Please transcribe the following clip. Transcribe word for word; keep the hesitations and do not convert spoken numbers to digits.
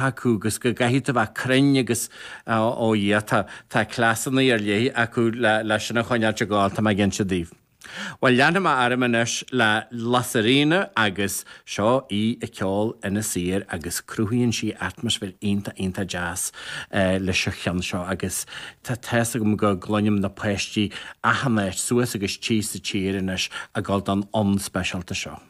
acu agus go gcaithfidh tú bheith cruinn agus ó Dhia tá tá cleasanna ar leith acu le le sin a choinneáilt ag gabháil tá mé ag inse daoibh. Bhuel leanfaidh mé orm anois le La Sirena agus seo í ag ceol Inis Oírr agus cruthaíonn sí atmaisféar iontach iontach deas leis an cheann seo agus tá tá's agam go gcluinim na páistí achan áit suas agus síos sa tír anois ag gabháil don fhonn speisialta seo.